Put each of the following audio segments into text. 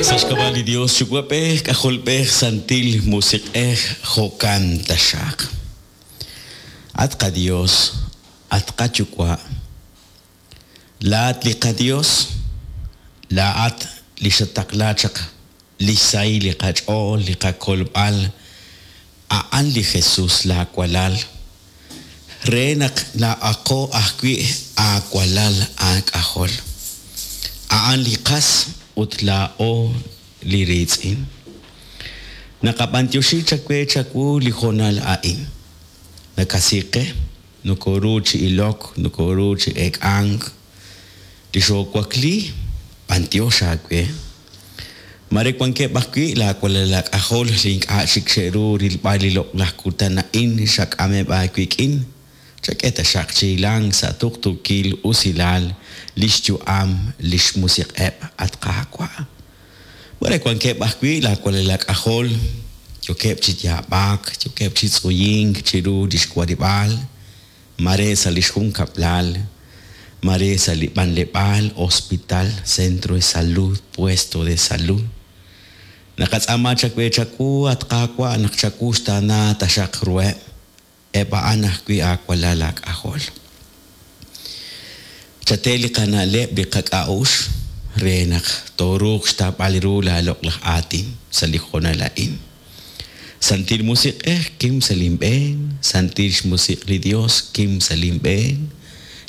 Sa' xk'ab'a' li Dios Yuwa'b'ej, K'ajolb'ej, Santil Musiq'ej, jo'kan taxaq. At qaDios, at qaYuwa', laa'at li qaDios, laa'at li xataqla chaq lix sahil li qach'ool, li qakolb'al, a'an li Jesus laa walal, re naq laa'aqo ajwi' aawalal aak'ajol. A'an li qas ut laa'o li riitz'in. Naqab'antioxi chawe chawu li hoonal a'in. Nakasi qe, nokoru chi ilok, nokoru chi eek'ank. Li xoowakli, b'antiox aawe. Mare wankeb' ajwi' laawalal aak'ajol li ink'a' chik xe'ru rilb'al li loq'laj kutan a'in xak'ameb' aawik'in, chak'e taxaq chi hilank sa' tuqtuukil usilal li xyu'am li xmusiq'eb', at Qaawa'. Mare wankeb' ajwi' laawalal aak'ajol yookeb' chi yaab'ak, yookeb' chi tz'uyink chiru li xwarib'aal, mare sa' li xjunkab'lal, mare sa' li b'anleb'aal, hospital, centro de salud, puesto de salud. Naqatz'aama chawe chawu, at Qaawa', naq chawuxtaana taxaq ruheb', eb' a'an ajwi' aawalal aak'ajol. Chate li qana'leb' li qak'a'uxl re naq tooruuq xtawb'al ru laaloq'laj aatin sa' li hoonal a'in. Santil Musiq'ej, kim sa' linb'een, Santil xmusiq' li Dios, kim sa' linb'een,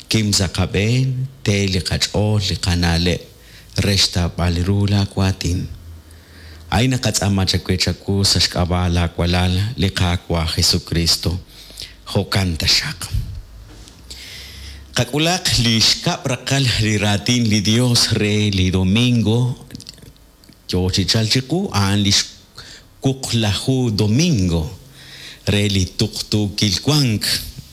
kim sa' qab'een, te li qach'ool li qana'leb' re xtawb'al ru laawaatin. A'in naqatz'aama chawe chawu sa' xk'ab'a' laawalal li Qaawa' Jesukristo. Jo'kan taxaq. Qak'ulaq li xkab' raqal li raatin li Dios re li domingo yo chi chalk chiqu, a'an li xwuqlaju domingo re li tuqtuukil wank,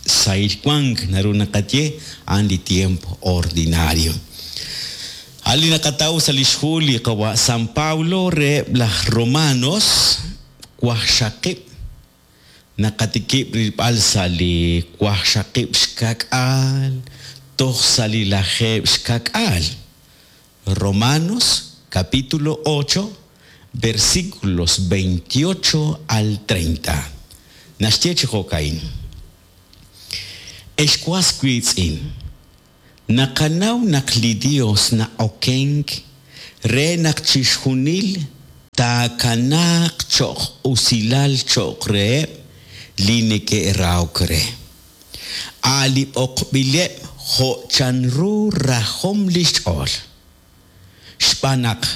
sahil wank naru naqaye, a'an li tiempo ordinario. A'an li naqataw sa' li xhu li qawa' San Pablo reheb' laj Romanos waqxaqib', naqatikib' rilb'al sa' li waqxaqib' xka'k'aal toj sa' li lajeeb' xka'k'aal. Romanos capítulo 8, versículos 28 al 30. Naxye chi jo'ka'in: Ex was wiitz'in, naqanaw naq li Dios na'okenk re naq chixjunil taakanaaq cho'q usilal cho'q reheb' li neke'rahok re, a' li b'oqb'ileb' jo' chanru rajom li xch'ool. Xb'aan naq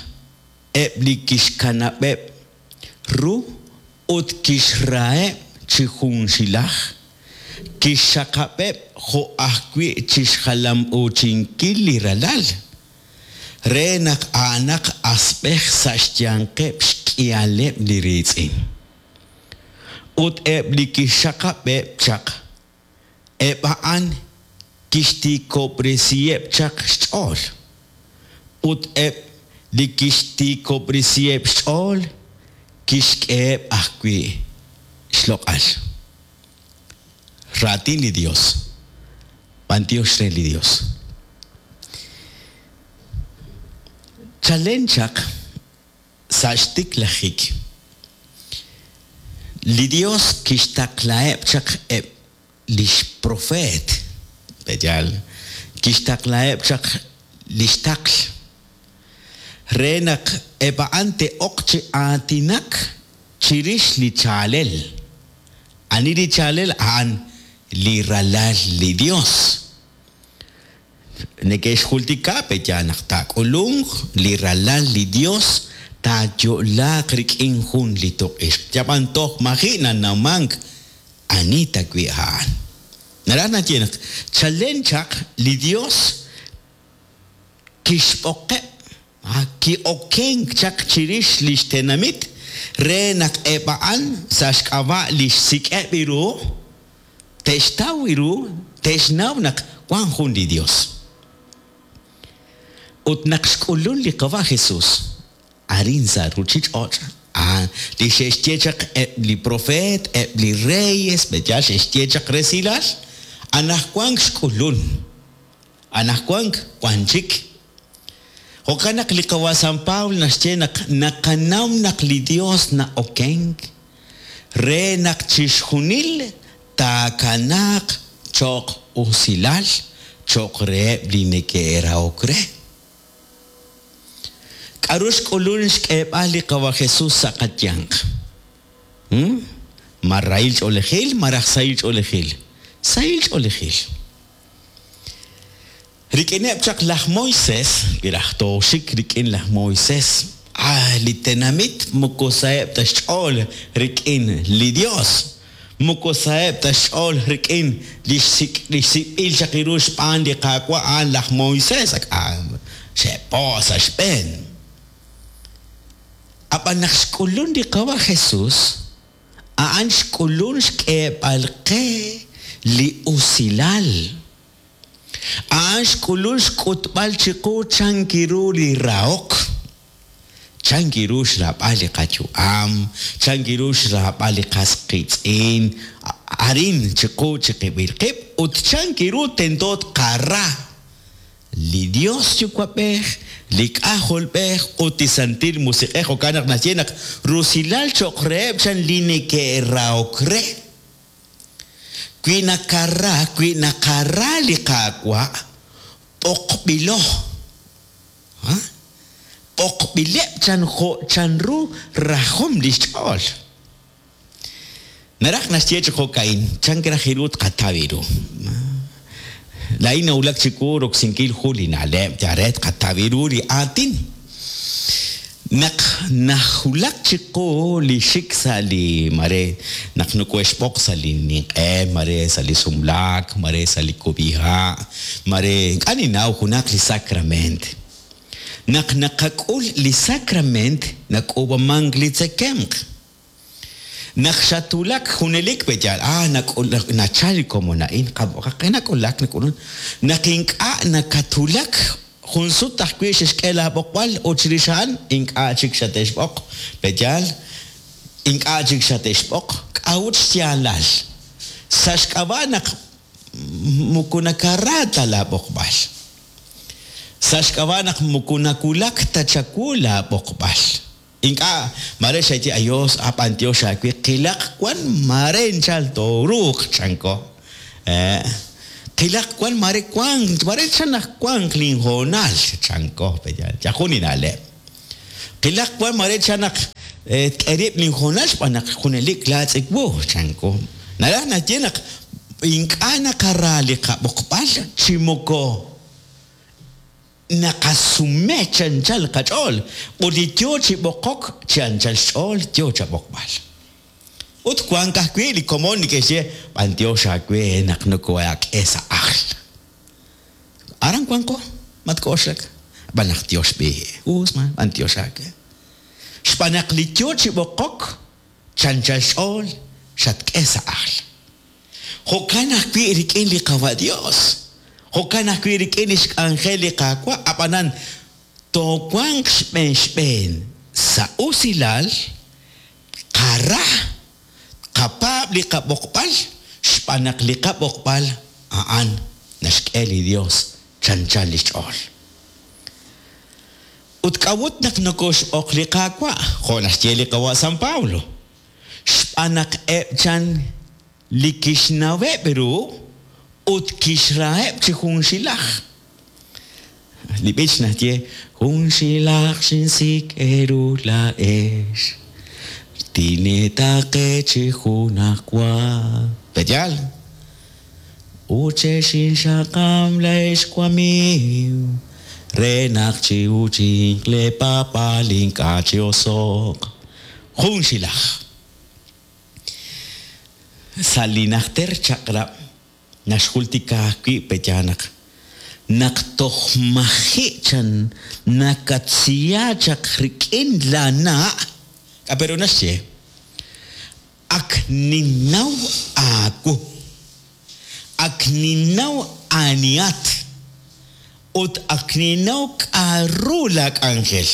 eb' li kixkanab'eb' ru ut kixraheb' chi junxilaj, kixxaqab'eb' jo' ajwi' chi xjalam'uuchinkil li Ralal, re naq a'anaq asb'ej sa' xyanqeb' xk'ihaleb' li riitz'in. Ut eb' li kixxaqab'eb' chaq, eb' a'an kixtiikob'resiheb' chaq xch'ool. Ut eb' li kixtiikob'resiheb' xch'ool, kixk'eheb' ajwi' xloq'al. Raatin li Dios. B'antiox re li Dios. Chalen chaq sa' xtiklajik, li Dios kixtaqlaheb' chaq eb' lix profeet, pe'yaal? Kixtaqlaheb' chaq lix taql re naq eb' a'an te'oq chi aatinak chirix li chaalel. Ani li chaalel? A'an li Ralal li Dios. Neke'xjultika pe'yaal naq taak'ulunq li Ralal li Dios taayo'laaq rik'in jun li tuq'ixq. Yab'an toj maji' nanawmank ani tawi' a'an. Naraj naxye naq chalen chaq li Dios kixb'oqeb', ki'okenk chaq chirix li xtenamit re naq eb' a'an sa' xk'ab'a' li xsik'eb' ru te'xtaw ru, te'xnaw naq wank jun li Dios. Ut naq xk'ulun li Qawa' Jesus arin sa' ruuchich'och', a' li xe'xye chaq eb' li propeet, eb' li reyes, pe'yaal xe'xye chaq resilal, anaqwan xk'ulun, anaqwan wank chik. Jo'kan naq li qawa' San Pablo naxye naq naqanaw naq li Dios na'okenk re naq chixjunil taakanaaq cho'q usilal cho'q reheb' li neke'rahok re. K'aru xk'ulun xk'eeb'al li qawa' Jesús sa' qayanq? Ma rahil ch'oolejil malaj sahil ch'oolejil? Sahil ch'oolejil. Rik'ineb' chaq laj Moisés, wi raj tooxik rik'in laj Moisés, ah, li tenamit moko saheb' ta xch'ool rik'in li Dios, moko saheb' ta xch'ool rik'in li xsik'b'il chaq ru xb'aan li Qaawa' a'an laj Moisés, ak xe'po' sa' xb'een. Ab'an naq xk'ulun li Qawa' Jesús, a'an xk'ulun xk'eeb'al qe li usilal. A'an xk'ulun xk'utb'al chiqu chank ru li rahok, chank ru xraab'al li qayu'am, chank ru xraab'al li qas qiitz'in, arin chiqu chiqib'il qib' ut chank ru tento tqara li Dios Yuwa'b'ej, li K'ajolb'ej ut li Santil Musiq'ej. Jo'kan naq naxye naq rusilal cho'q reheb' chan li neke'rahok re. Wi nakara, wi naqara li Qaawa', b'oqb'ilo. B'oqb'ileb' chan jo' chanru rajom li xch'ool. Naraj naxye chi jo'ka'in, chank raj ru tqataw ru. Laa'in nawulak chiwu roksinkil jun li na'leb' yal re tqataw ru li aatin. Naq nawulak chiqu li xik sa' li mare naq nokohe'xb'oq sa' li ninq'e, mare sa' li sumlaak, mare sa' li kub'iha', mare ink'a' ninnaw junaq li sacrament. Naq naqak'ul li sacrament nak'uub'amank li tzekemq. Naq xatwulak junelik pe' yaal, ah, nachal li komon a'in, qe nak'ulak, nak'ulun. Naq ink'a' nakatwulak, jun sut ajwi' xe'xk'e laab'oqb'al ut chirix a'an ink'a' chik xate'xb'oq, pe' yaal, ink'a' chik xate'xb'oq. K'a'ut xyaalal? Sa' xk'ab'a' naq moko nakara ta laab'oqb'al. Sa' xk'ab'a' naq moko nawulak ta chawu laab'oqb'al. Ink'a', mare xaye ayos, a b'antiox aawe, qilaq wan mare nchal tooruuq, chanko. Qilaq wan mare wank, mare chan naq wanq linhoonal, chanko, yal jun li na'leb'. Qilaq wan mare chan naq tk'e rib' linhoonal xb'aan naq junelik laatz' wu, chanko. Naraj naxye naq ink'a' naqara li qab'oqb'al chi moko Naqasume chi anchal qach'ool, ut li yoo chi b'oqok chi anchal xch'ool yoo chab'oqb'al. Ut wank ajwi' li komon li ke'xye, B'antiox aawe naq nokohaak'e sa' ajl. Aran wanqo, matk'oxlak. Ab'an naq Tiox b'i', us ma, b'antiox aawe. Xb'aan naq li yoo chi b'oqok chanchal xch'ool xatk'e sa' ajl. Jo'kan ajwi' rik'in li Qawa' Dios, jo'kan ajwi' rik'in lix k'anjel li Qaawa', a'b'anan toowanq xb'een xb'een sa' usilal, tqara, tqapaab' li qab'oqb'al, xb'aan naq li qab'oqb'al a'an naxk'e li Dios chanchan lix ch'ool. Ut k'a'ut naq nokoxb'oq li Qaawa', jo' naxye li Qawa' San Pablo? Xb'aan naq eb' chan li kixnaweb' ru ut kixraheb' chi junxilaj. Li b'ich naxye, Junxilaj xinsik' eeru laa'ex, tineetaqe chi junajwa. Pe'yaal? Ut xexinxaqab' laa'ex wamiiw, re naq chi'uchinq leepaab'aal ink'a' chi'oso'q. Junxilaj. Sa' li Najter Chaq'rab' naxjultika ajwi' pe'yaal naq, naq toj maji' chan nakatsiya chaq rik'in laana', k'a' pe ru naxye? Ak ninnaw aawu. Ak ninnaw anihat. Ut ak ninnaw k'a'ru laak'anjel.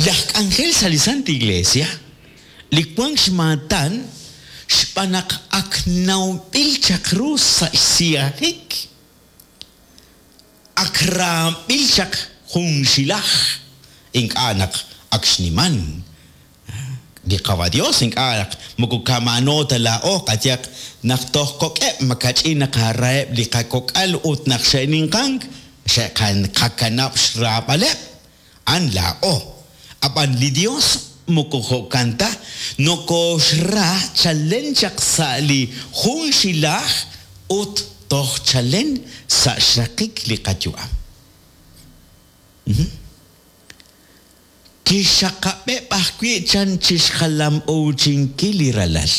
Laj k'anjel sa' li Santa Iglesia, li wank xmaatan xb'aan naq ak nawb'il chaq ru sa' xsiyajik. Ak raab'il chaq junxilaj, ink'a' naq ak xniman. Li Qawa' Dios ink'a' naq moko kama'ano ta laa'o, qayehaq naq toj kok'eb' makach'in naqaraheb' li qakok'al ut naq xe'ninqank xe'qakanab' xraab'aleb', a'an laa'o. Ab'an li Dios moko jo'kan ta, nokooxra chalen chaq sa' li junxilaj ut toj chalen sa' xraqik li qayu'am. Kixxaqab'eb' ajwi' chan chi xjalam'uuchinkil li Ralal.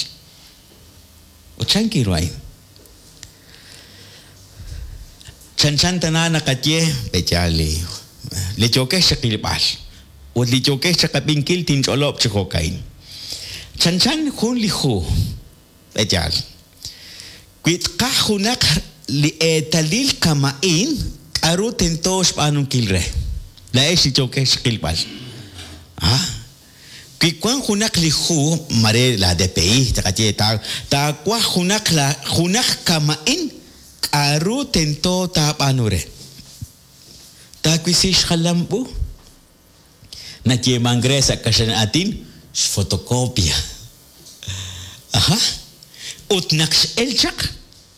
Ut chan kiru a'in? Chanchan tana naqaye, pe'yaal li li yookex chiqilb'al ut li yookex chiqab'inkil tinch'olob' chi jo'ka'in. Chanchan jun li hu, pe'yaal. Wi tqaj junaq li eetalil kama'in, k'aru tento xb'aanunkil re? Laa'ex li yookex xqilb'al. Ah, wi wank junaq li hu, mare la DPI, tqaye, taawaj junaq la junaq kama'in, k'aru tento taab'aanu re? Taawisi xjalam u. Nayeemank re sa' kaxlan aatin xfotocopia. Aja. Ut naq x'el chaq,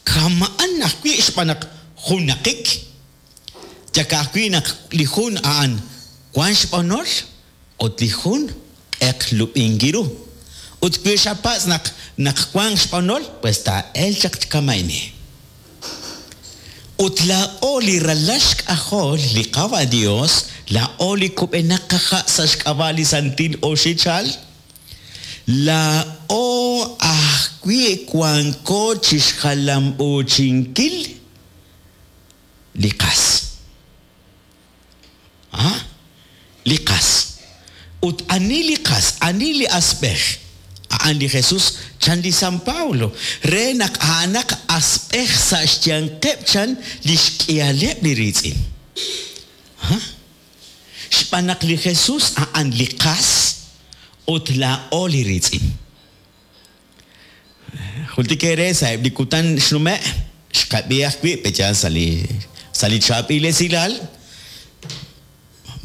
kama'an ajwi' xb'aan naq junnaqik. Yal ka'ajwi' naq li jun a'an wank xb'onol ut li jun q'eq lub'inki ru. Ut wi xapatz' naq naq wank xb'onol, pues taa'elq chaq kama'ini. Ut laa'o li ralal xk'ajol li Qawa' Dios, laa'o li kub'enaq qaha' sa' xk'ab'a' li santil oxichal, laa'o ajwi' wanko chixjalam'uuchinkil li qas. A, li qas. Ut ani li qas, ani li asb'ej? A'an li Jesus, chan li San Pablo, re naq a'anaq asb'ej sa' xyanqeb' chan li xk'ihaleb' li riitz'in. A, xb'aan naq li Jesus a'an li qas ut laa'o li riitz'in. Jultik eere sa'eb' li kutan xnume', xqab'i ajwi' pe'yaal sa' li sa' li chaab'il esilal,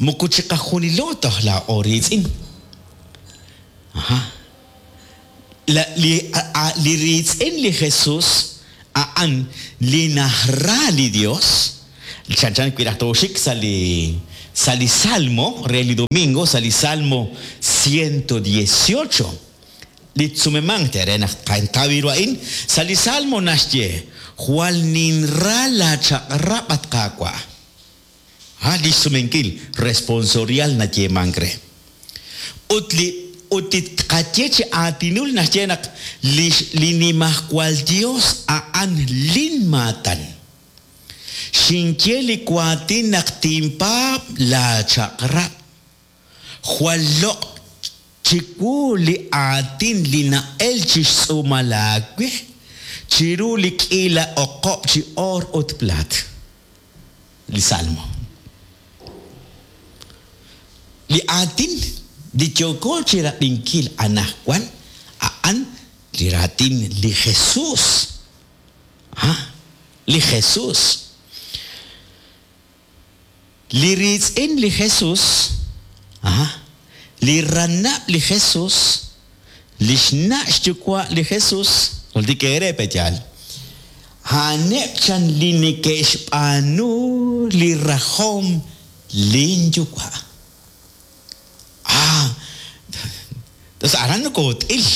moko chiqajunilo toj laa'o riitz'in. Aja. La, li, a, li riitz'in li Jesus a'an li naxra li Dios, chanchan wi' raj tooxik sa' li sa' li Salmo re li domingo, sa' li Salmo 118. Li tsumemank te re naq tqataw ru a'in, sa' li Salmo naxye, Jwal ninra laachaq'rab', at Qaawa'. A Li xsumenkil responsorial nayeemank re. Ut li ut li tqaye chi aatinul naxye naq li li Nimajwal Yos a'an linmaatan. Xinye li waatin naq tinpaab' laachaq'rab'. Jwal loq' chiwu li aatin li na'elk chi xtz'uumal aawe, chiru li k'iila oqob' chi oor ut plaat. Li Salmo. Li aatin li yooko chi rab'inkil anaqwan a'an li raatin li Jesus. Ha, li Jesus. Li riitz'in li Jesus, aha, li ranab' li Jesus, li xna' xyuwa' li Jesus, jultik eere pe'yaal? A'aneb' chan li neke'xb'aanu li rajom lin Yuwa'. Ah, tos aran nokoot'il,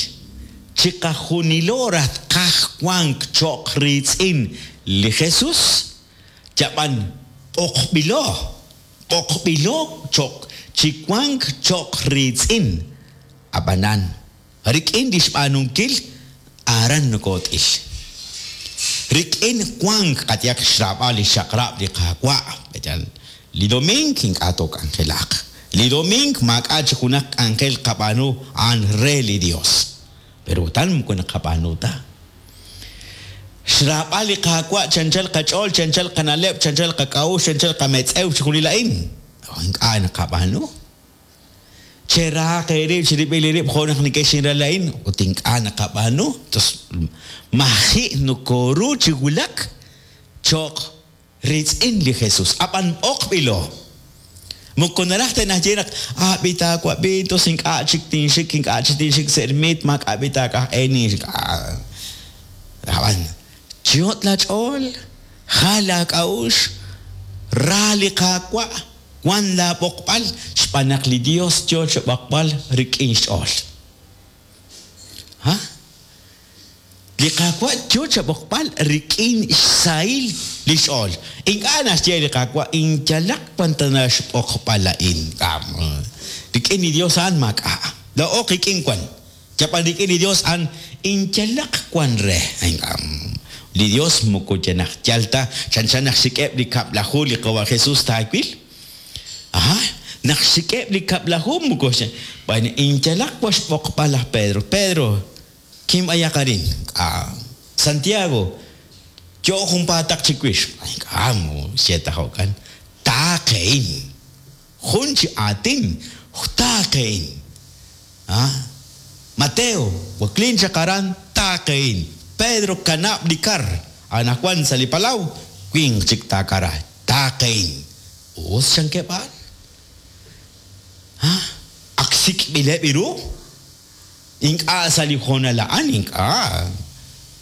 chiqajunilo raj tqaj wank cho'q riitz'in li Jesus, Yab'an b'oqb'ilo, b'oqb'ilo cho'q chi wank cho'q riitz'in, ab'anan, rik'in li xb'aanunkil aran nokoot'il. Rik'in wank qayehaq xraab'al li xchaq'rab' li Qaawa', yal li domink ink'a' took'anjelaq. Li domink maak'a' chi junaq k'anjel qab'aanu a'an re li Dios. Pero utan moko naqab'aanu ta. Xraab'al li Qaawa' chi anchal qach'ool, chi anchal qana'leb', chi anchal qak'a'uxl, chi anchal qametz'ew, chixjunil a'in, ink'a' naqab'aanu. Cherahaq eerib' cherib'il eerib' jo' naq nekexinra laa'in, ut ink'a' naqab'aanu. Maji' nokoru chi wulak cho'q. Riitz'in li Jesus. Ab'an b'oqb'ilo. Moko naraj ta naxye naq, Ah, b'i taawab'i, tos ink'a' chik tinxik, ink'a' chik tinxik sa' ermit, maak'a' b'i taak'aj e ninxik. Ab'an, chiyot' laach'ool, jal laak'a'uxl, ra li Qaawa', wan laab'oqb'al, xb'aan naq li Dios yoo chab'oqb'al rik'in xch'ool. Ha? Li Qaawa' yoo chab'oqb'al rik'in xsahil li xch'ool. Ink'a' naxye li Qaawa', Inyalaq wan tana xb'oqb'al a'in. Rik'in li Dios a'an maak'a'. Laa'o qik'in wan. Yab'an rik'in li Dios a'an inyalaq wan re. Li Dios moko yanaq yal ta chanchan naq xsik'eb' li kab'laju li Qawa' Jesus taawil. Aha, naq xsik'eb' li kab'laju moko b'an inyalaq wan xb'oqb'al laj Pedro. Pedro, Kinb'ayaq arin. K'a. Santiago, Yo junpaataq chiwix. K'a, moko xye ta jo'kan. Taaqehin. Jun chi aatin, taaqehin. A. Mateo, Waklin chaq aran, taaqehin. Pedro, Kanab' li kar. Anaqwan sa' li palaw, winq chik taakara. Taaqehin. Us chankeb' a'an. A. Ak sik'b'ileb' ru. Ink'a' sa' li hoonal a'an, ink'a'.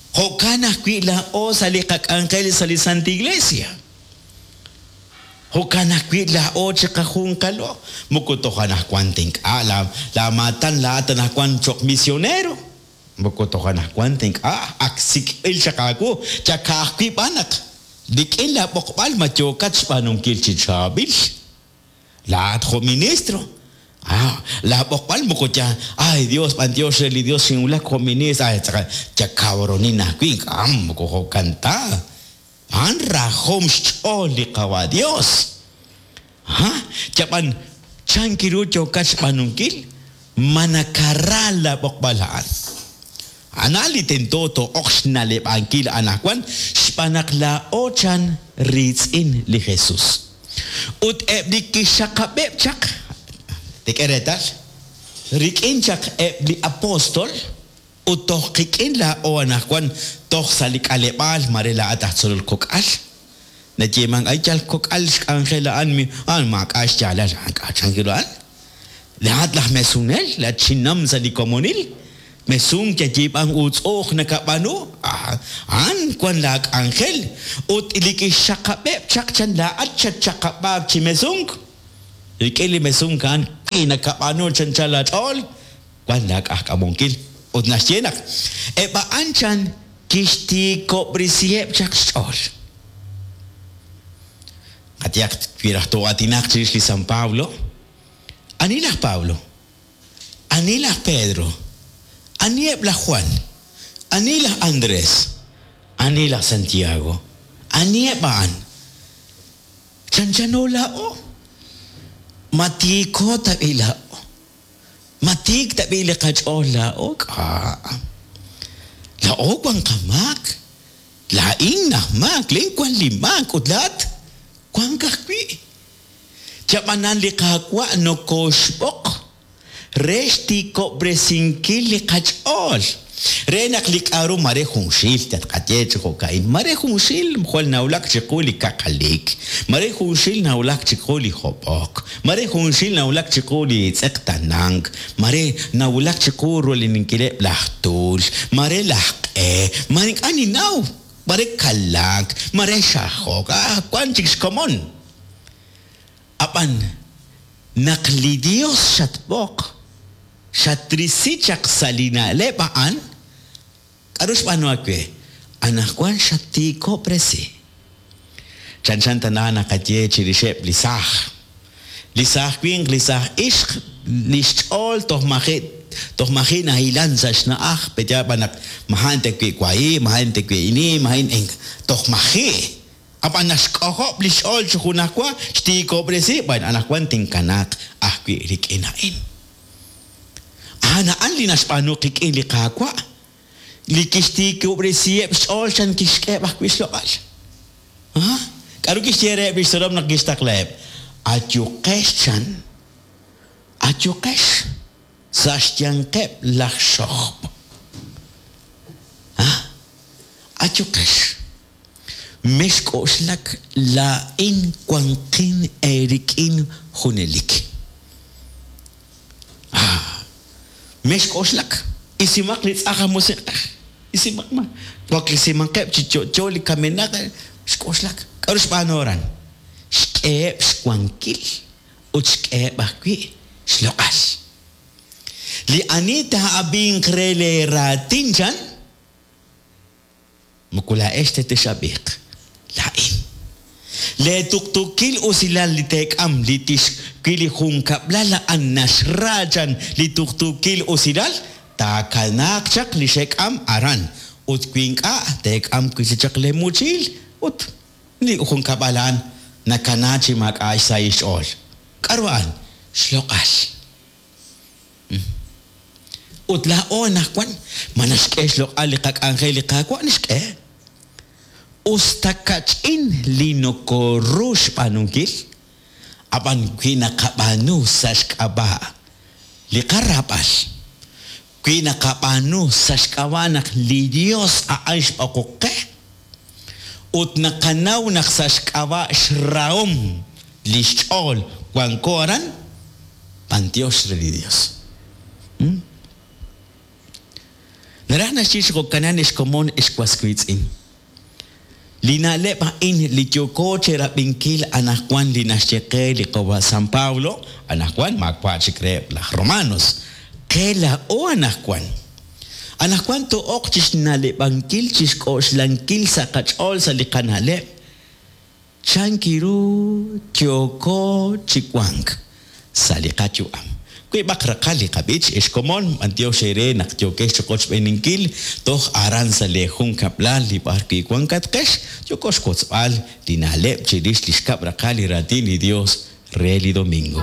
Jo'kan ajwi' laa'o sa' li qak'anjel sa' li Santa Iglesia. Jo'kan ajwi' laa'o chiqajunqalo. Moko toj anajwan ta ink'a' laa maatan laa'at anajwan choq' misionero. Moko toj anajwan ta ink'a' ak sik'b'il chaq aawu, yal ka'ajwi' b'an naq rik'in laa b'oqb'al ma yookat xb'aanunkil chi chaab'il. Laa'at jo' ministro. Ah, laa b'oqb'al moko ya, ay Dios, b'antiox re li Dios xinwulak jo' ministro, ay tz'aqal, ya cabronin ajwi', ink'a' moko jo'kan ta. A'an rajom xch'ool li Qawa' Dios. Ha, yab'an chan ru yookat xb'aanunkil, ma nakara laa b'oqb'al a'an. A'an li tento too'oq xna'leb'ankil anaqwan xb'aan naq laa'o chan riitz'in li Jesus. Ut eb' li kixxaqab'eb' chaq, teek'e reetal, rik'in chaq eb' li apóstol ut toj qik'in laa'o anaqwan toj sa' li k'aleb'aal mare laa'at aj tzolol kok'al, nayeemank ay yal kok'al xk'anjel a'an, a'an maak'a' xyaalal, a'an k'a' chan ru a'an? Laa'at laj mesunel, laa'at chinam sa' li komonil, mesunk yayiib'ank uutz'u'uj nakab'aanu, a'an wan laa k'anjel, ut li kixxaqab'eb' chaq chan laa'at xatxaqab'aak chi mesunk, rik'in li mesunk a'an wi nakab'aanu chanchan laa ch'ool, wan laa k'ajk'amunkil. Ut naxye naq eb' a'an chan kixtiikob'resiheb' chaq xch'ool. Qayehaq wi raj too'aatinaq chirix li San Pablo, Ani laj Pablo? Ani laj Pedro? Aniheb' laj Juan? Ani laj Andrés? Ani laj Santiago? Aniheb' a'an? Chanchano laa'o. Ma tiiko tab'i' laa'o? Ma tiik tab'i' li qach'ool laa'o? K'a'. Laa'o wan qamaak. Laa'in aj maak, laa'in wan li maak ut laa'at wank ajwi'. Chab'anan li Qaawa' nokooxb'oq re xtiikob'resinkil li qach'ool, re naq li k'a'ru mare junxil tatqaye chi jo'ka'in, mare junxil jwal nawulak chiqu li kaqalik, mare junxil nawulak chiqu li hob'ok, mare junxil nawulak chiqu li tz'eqtanank, mare nawulak chiqu rulininkileb' laj tuul, mare laj q'e, mare ink'a' ninnaw, mare kalaak, mare xajok, ah, wan chik xkomon. Ab'an, naq li Yos xatb'oq, xatrisi chaq sa' li na'leb' a'an, k'aru xb'aanu aawe? Anaqwan xattiikob'resi. Chanchan tana naqaye chirixeb' li saaj. Li saaj winq, li saaj ixq, li xch'ool toj maji' toj maji' nahilan sa' xna'aj, pe'yaal b'an naq maja' tewi' wahi', maja' tewi' ini, maja' toj maji'. Ab'an naxk'ojob' li xch'ool chi junajwa, xtiikob'resi, b'an anaqwan tinkanaaq ajwi' rik'in a'in. A'an a'an li naxb'aanu qik'in li Qaawa', li kixtiikob'resiheb' xch'ool chan kixk'eheb' ajwi' xloq'al. A? K'aru kixye reheb' li xtzolom naq kixtaqlaheb'? Ayuqex chan, ayuqex sa' xyanqeb' laj xojb'. A? Ayuqex. Mexk'oxlak, laa'in wanqin eerik'in junelik. Mexk'oxlak, isimaq li tz'aj aj musiq'ej, isimaq ma, waklesimaqeb' chi yo'yo li kamenaq, xk'oxlak. K'aru xb'aanu aran? Xk'eheb' xwankil ut xk'eheb' ajwi' xloq'al. Li ani taa'ab'inq re leeraatin chan, moko laa'ex ta tex'ab'iiq, laa'in. Leetuqtuukil usilal li teek'am li tix wi li junkab'lal a'an naxra chan li tuqtuukil usilal, taakanaaq chaq li xek'am aran, ut wi ink'a' teek'am wi' chik chaq leemuchiil ut li junkab'al a'an nakana chi maak'a' xsahil xch'ool. K'aru a'an? Xloq'al. Ut laa'o anaqwan, ma naxk'e xloq'al li qak'anjel li Qaawa'? Naxk'e. Us ta kach'in li nokoru xb'aanunkil, ab'an wi naqab'aanu sa' xk'ab'a' li qaraab'al, wi naqab'aanu sa' xk'ab'a' naq li Yos a'an xb'oqok qe, ut naqanaw naq sa' xk'ab'a' xrahom li xch'ool wanko aran, b'anyox re li Yos. Naraj naxye chi jo'kanan ex komon ex was wiitz'in. Li na'leb' a'in li yooko cherab'inkil anaqwan li naxye qe li qawa' San Pablo, anaqwan maawa' chik reheb' laj Romanos, qe laa'o anaqwan. Anaqwan too'oq chi xna'leb'ankil, chi xk'oxlankil sa' qach'ool sa' li qana'leb', chan ru yooko chi wank sa' li qayu'am. Wiib'aq raqal li qab'ich, ex komon, b'anyox eere naq yookex chi qochb'eeninkil toj aran sa' lee junkab'lal li b'ar wi' wankatqex, yooko xwotzb'al li na'leb' chirix li xkab' raqal li raatin li Dios re li domingo.